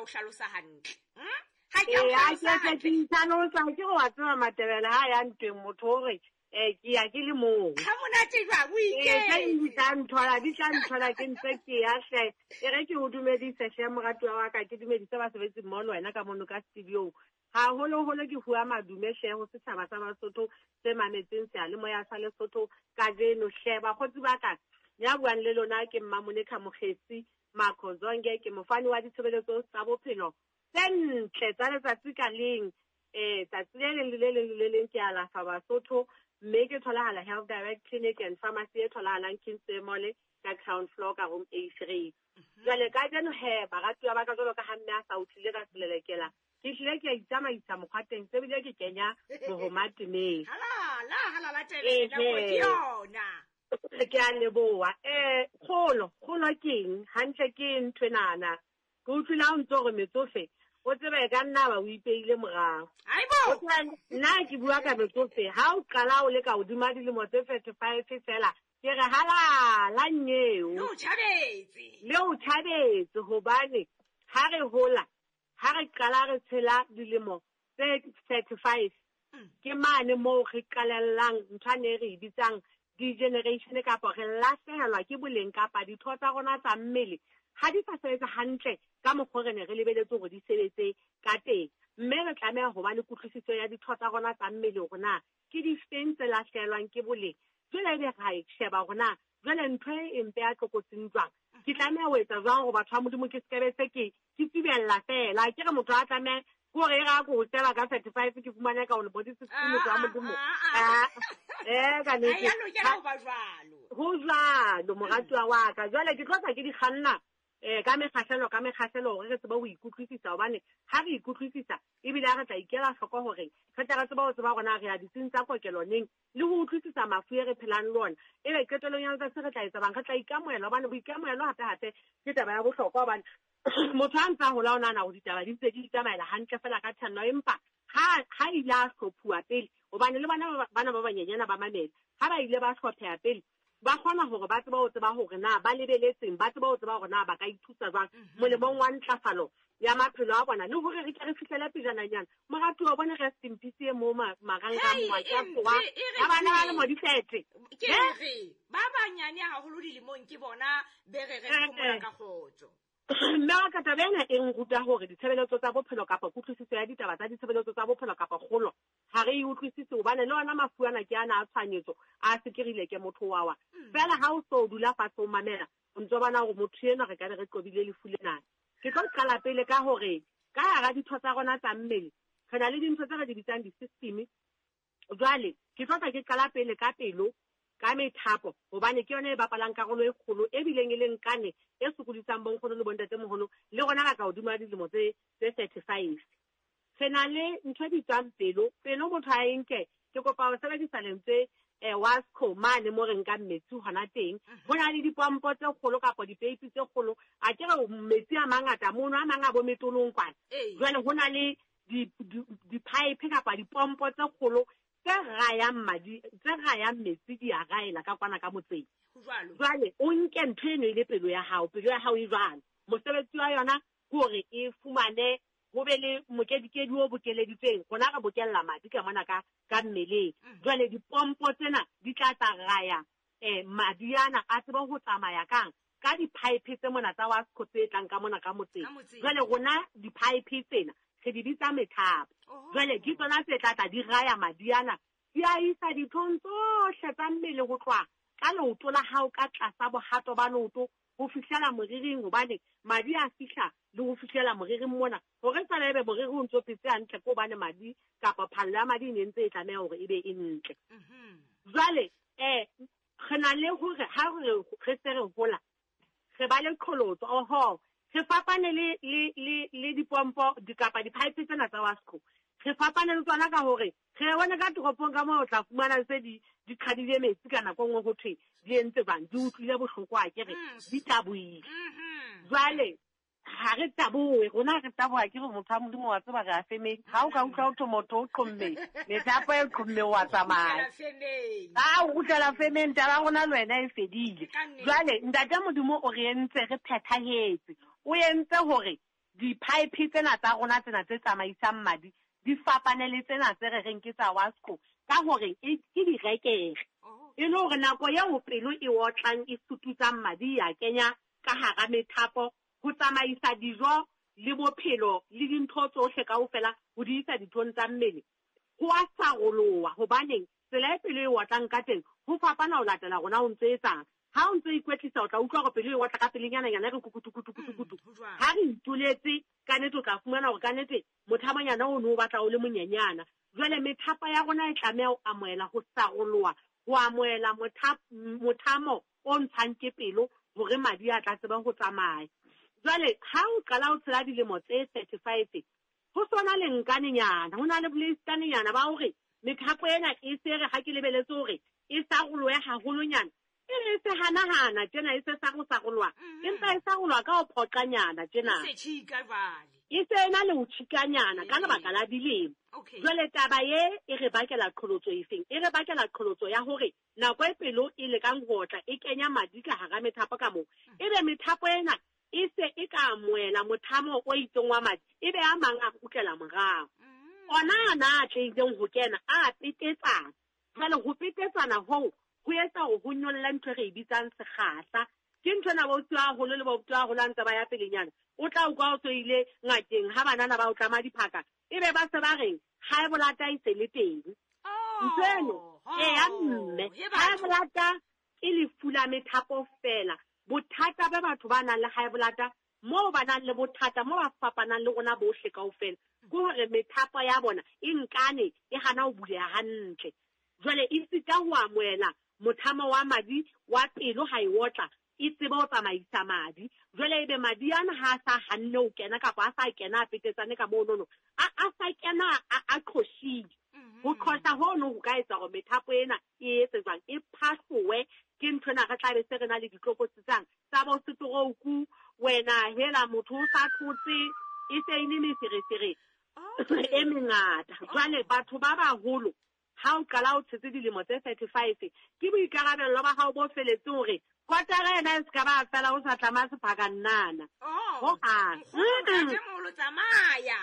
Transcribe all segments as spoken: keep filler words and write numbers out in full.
o hlalosa hantle. Hm? Ha ke a o hlalosa hantle. Ke hlalosa ke go wa tseba Matebele ha ya ntweng motho hore eh ke ya ke le mong. Ha monate jwang o iketse. Eh di tla nthola di tla nthola ke ntse ke ya hle. E re ke o dumedise hle moratuwa wa ka, ke dumedise basebetsi mmoho le wena ka mono ka studio. Haholoholo ke bua madume hle ho setjhaba sa Basotho se mametseng seyalemoya sa Lesotho kajeno hle. Bakgotsi ba ka, ya buang le lona ke Mmamonekha Mokgetsi Makhozonge, ke mofani wa ditshebeletso tsa bophelo tse ntle tsa letsatsi ka leng. Eh tsatsi le leng le le leng le leng ke alafa Basotho, mme ke tholahala Health Direct Clinic and Pharmacy e tholahalang Kingsway Mall ka ground floor ka room A three. Jwale kajeno he baratuwa ba ka, jwalo ka ha mme a sa utlwile ka selelekela, ke hlile ke a itsamaisa mokgwateng, se bile ke kenya mohoma temeng. Halala, halala tebele, nako ke yona. Ke a leboha. Eh kgolo, kgolo keng? Hantle ke ntho enana. Ke utlwile ha o ntso re metsofe, o tsebe ka nna ba o ipeile morao. Haibo! Nna ke bua ka metsofe, ha o qala o le ka hodima dilemo tse thirty-five fela, ke re halala nyeo. Le o tjhabetse. Le o tjhabetse hobane ha re hola, ha re qala re tshela dilemo tse thirty-five, ke mane moo re qalellang ntho ane re e bitsang degeneration, kapa re lahlehelwa ke boleng kapa ditho tsa rona tsa mmele ha di sa sebetsa hantle ka mokgwa re ne re lebeletse hore di sebetse ka teng. Mme re tlameha ho ba le kutlwisiso ya ditho tsa rona tsa mmele hore na ke difeng tse lahlehelwang ke boleng. Jwale ebe ra e sheba hore na jwale ntho e mpe ya tlokotsing jwang, ke tlameha ho etsa jwang hore batho ba Modimo ke sekebe se ke ke tsibella fela. Ke re motho a tlameha ke hore e re a ko hotela ka thirty-five ke fumane ka hore body sixty motho wa Modimo. Eh ka nnete. Ha ya lokela ho ba jwalo. Ho jwalo moratuwa wa ka. Jwale ke tlo tla ke di kganna eh ka mekgahlelo ka mekgahlelo hore re tsebe ho ikutlwisisa, hobane ha re ikutlwisisa ebile ha re tla ikela hloko hore re tla re tseba ho tseba hore na re ya ditsing tsa kokelo neng, le ho utlwisisa mafu e re phelang le ona. Ebe qetellong ya letsatsi re tla etsa bang, re tla ikamohela, hobane boikamohelo hape hape ke taba ya bohlokwa, hobane motho ha ntse a hola o nahana hore ditaba di ntse di itsamaela hantle fela ka tshwanno, empa ha ha ile a hlophuwa pele, hobane le bana bana ba banyenyana ba mamela, ha ba ile ba hlopheha pele ba kgona hore ba tsebe ho tseba hore na ba lebeletseng, ba tsebe ho tseba hore na ba ka ithusa jwang molemong wa ntlafalo ya maphelo a bona, le hore re ke re fihlele pejananyana. Moratuwa o bone rest in peace e mo marangrang wa ka tsoha ha bana ba le mo difete. Ke re ba banyane haholo dilemong ke bona be re re phomola ka kgotso. Mme wa ka taba ena e nruta hore ditshebeletso tsa bophelo kapa kutlwisiso ya ditaba tsa ditshebeletso tsa bophelo kapa kgolo ha re e utlwisise, hobane le ona mafu ana ke ana a tshwanyetso a sekerile ke motho wa wa. Fela ha o so dula fatshe o mamela, o ntso bona hore motho enwa re ka be re qobile lefu lena. Ke tlo qala pele ka hore ka hara ditho tsa rona tsa mmele re na le dintho tse re di bitsang di-system. Jwale ke tlo tla ke qala pele ka pelo, ka methapo, hobane ke yona e bapalang karolo e kgolo e bileng e leng kane e sokodisang bonkgono le bontatemoholo le rona ka ka hodima dilemo tse tse thirty-five. Re na le ntho e bitswang pelo. Pelo motho a e nke, ke kopa ho sebedisa lentswe eh Wasco mane mo re nkang metsi hona teng. Ho na le dipompo tse kgolo kapa dipeipi tse kgolo, a ke re metsi a mangata mono, a mang a bo metolong kwana. Jwale ho na le di-pipe kapa dipompo tse kgolo tse rayang madi, tse rayang metsi di a raela ka kwana ka motseng. Jwale o nke ntho eno e le pelo ya hao, pelo ya hao e jwalo. Mosebetsi wa yona ke hore e fumane ho be le mokedikedi o bokeleditsweng, rona re bokella madi ka mona ka ka mmeleng. Jwale dipompo tsena di tla tsa raya eh madi ana a tsebe ho tsamaya kang ka di-pipe tse mona tsa Wasco tse tlang ka mona ka motseng. Jwale rona di-pipe tsena re di bitsa methapo. Jwale ke tsona tse tla tla di raya madi ana, di a isa dithong tsohle tsa mmele ho tloha ka leoto la hao ka tlasa bohato ba leoto ho fihlela moriring, hobane madi a fihla le ho fihlela moriring mona. Hore fela ebe moriri o ntso phetse hantle ke hobane madi kapa phallo ya madi e ne ntse e tlameha hore e be e ntle. Jwale eh re na le hore ha re re se re hola re ba le qholotso, oho re fapane le le le le dipompo di kapa di-pipe tsena tsa Wasco. Re fapane le tsona ka hore re bona ka toropong ka moo o tla fumana tse di di qhadile metsi ka nako nngwe ho thwe di entse jwang, di utlwile bohloko a ke re di tabohile. Jwale ha re tabohe, rona re taboha ke re motho wa Modimo wa tseba re a femeng. Ha o ka utlwa ho thwe motho o qhomme, methapo e qhomme wa tsamaya. Ha o kgutlela femeng, taba ya rona le wena e fedile. Jwale ntate Modimo o re entse re phethahetse, o entse hore di-pipe tsena tsa rona tsena tse tsamaisang madi di fapane le tsena tse re reng ke tsa Wasco ka hore e ke direkere. E le hore nako eo pelo e otlang e sututsang madi ya kenya ka hara methapo ho tsamaisa dijo le bophelo le dintho tsohle kaofela ho di isa dithong tsa mmele. Ho a saroloha hobaneng tsela e pelo e otlang ka teng ho fapana ho latela rona o ntse etsang. Ha o ntse ikwetlisa o tla utlwa hore pelo e otla ka pelenyana nyana re kukutu kutu kutu kutu. Ha re ituletse ka nnete o tla fumana hore ka nnete mothamonyana o no o batla o le monyenyana. Jwale methapo ya rona e tlameha ho amohela ho saroloha, ho amohela mothamo o ntshang ke pelo hore madi a tla tseba ho tsamaya. Jwale ha o qala o tshela dilemo tse thirty-five ho sona le nkanenyana, ho na le boleistanenyana ba hore methapo ena e se re ha ke lebeletse hore e sarolohe haholonyana, e re se hanahana tjena e se sarosaroloha, empa e saroloha ka ho phoqanyana tjena. E se tjhika jwale. E se ena le ho tjhikanyana ka lebaka la dilemo. Jwale taba ye e re bakela qholotso efeng? E re bakela qholotso ya hore nako e pelo e lekang ho otla e kenya madi ka hara methapo ka moo. Ebe methapo ena e se e ka amohela mothamo o itseng wa madi, ebe a mang a kgutlela morao. Ona ana a tlileng ho kena a petetsana. Jwale ho petetsana hoo ho etsa hore ho nyolle ntho e re e bitsang sekgahla. Ke ntho ena ba utlwa haholo le ba utlwa haholo ha ntse ba ya pelenyana. O tla utlwa o so ile ngakeng ha banana ba o tlama diphaka, ebe ba se ba reng high blood e se le teng. Ntho eno e ya mme high blood ke lefu la methapo fela. Bothata ba batho ba nang le high blood moo ba nang le bothata moo ba fapanang le rona bohle kaofela ke hore methapo ya bona e nkane e hana ho buleha hantle. Jwale e sita ho amohela mothamo wa madi wa pelo ha e otla e tsebe ho tsamaisa madi. Jwale ebe madi ana ha a sa hanne ho kena kapa a sa kena a petetsane ka monono, a a sa kena a qhoshile. Ho qhosha hono ho ka etsa hore methapo ena e etse jwang, e phahlowe. Ke ntho ena re tla be se re na le ditlokotsi tsang tsa bo stroke, wena hela motho o sa thotse e se e le meferefere e mengata. Jwale batho ba baholo ha o qala o tshetse dilemo tse thirty-five ke boikarabello ba hao bo feletseng hore kotara ena e se ka ba fela o sa tlama sephaka nnana. Ho hang. Ntatemoholo tsamaya.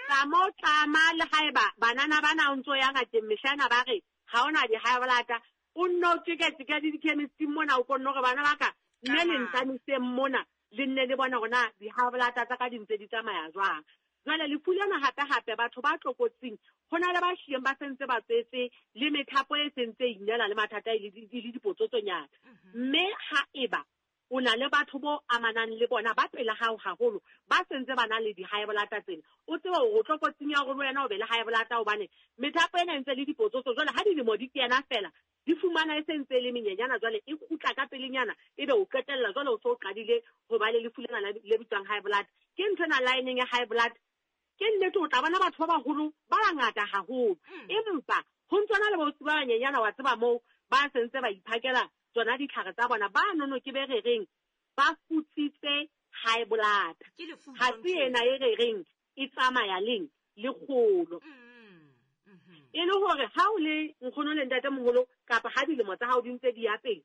Tsama o tlama le haeba banana bana o ntso ya ngakeng mehlana ba re ha ona di-high blood, o nno o tjeka-tjeka le di-chemist-ing mona o konne hore bana ba ka mme le ntamiseng mona le nne le bona hore na di-high blood tsa ka di ntse di tsamaya jwang. Jwale lefu lena hape-hape batho ba tlokotsing ho na le ba hlileng ba sentse ba tswetse le methapo e sentse e inela le mathata e le dipotsotsonyana. Mme ha eba o na le batho bo amanang le bona ba pela hao haholo ba sentse ba na le di-high blood tsena, o tsebe hore o tlokotsing ya hore le wena o be le high blood hobane methapo ena e ntse le dipotsotso. Jwale ha dilemo di kena fela di fumana e sentse le menyenyana, jwale e kgutla ka pelenyana ebe o qetella jwale o so o qadile ho ba le lefu lena le bitswang high blood. Ke ntho ena line ya high blood ke nnete o tla bona batho ba baholo ba bangata haholo, empa ho ntsona le bausi ba banyenyana wa tseba moo ba sentse ba iphakela tsona ditlhare tsa bona ba nono ke be re reng ba futsitse high blood. Ha se ena e re reng e tsamaya leng le kgolo. E le hore ha o le nkgono le ntatemoholo kapa ha dilemo tsa hao di ntse di ya pele,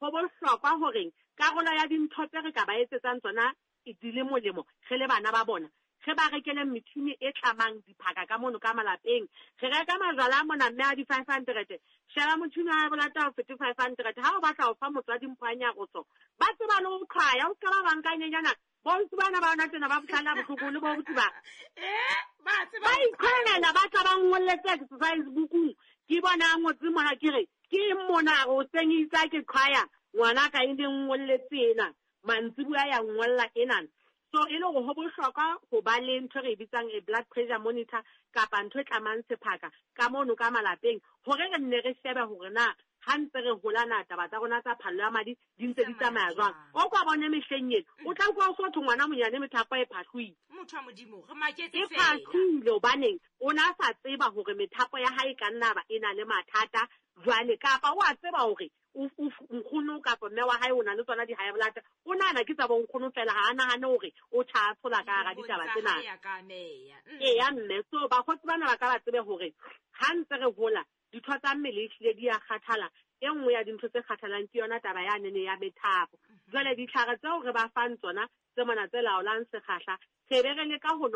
ho bohlokwa hore karolo ya dintho tse re ka ba etsetsang tsona e di le molemo re le bana ba bona, re ba rekele metjhini e tlamang diphaka ka mono ka malapeng. Re reka majwala mona mme a di-five hundred, sheba motjhini wa blood o fete five hundred. Ha o batla ho fa motswadi mpho ya nyaroso, ba tseba le ho qhwaya, o ska ba banka nyenyana. Bontsi bana ba yona tsena ba bohlala bohloko le bo botsi ba. Eh, ba tseba Ba iqhwela ba tla ba ngolletse exercise book-ung. Ke bona a ngotse mona ke re, ke eng mona o seng itsa ke qhwaya ngwana ka e leng ngolletse ena. Mantsibuya ya ngolla ena. So e le hore ho bohlokwa ho ba le ntho re e bitsang a blood pressure monitor kapa ntho e tlamang sephaka ka mono ka malapeng hore re nne re shebe hore na ha ntse re hola na taba tsa rona tsa phallo ya madi di ntse di tsamaya jwang. O kwa bone mehleng ena o tla utlwa o so thwe ngwana monyane methapo e phahloile. Motho wa Modimo re maketse E fela. phahloile hobaneng o na sa tseba hore methapo ya hae e ka nna ba e na le mathata jwale, kapa o a tseba hore nkgono kapa mme wa hae o na le tsona di-high blood, o nahana ke tsa bo nkgono fela, ha a nahane hore o tjha tshola ka hara ditaba tsena. Eya mme, so bakgotsi bana ba ka ba tsebe hore ha ntse re hola ditho tsa mmele ehlile di a kgathala. E nngwe ya dintho tse kgathalang ke yona taba ya nene ya methapo. Jwale ditlhare tseo re ba fang tsona tse mona tse laolang sekgahla, Re be re leka ho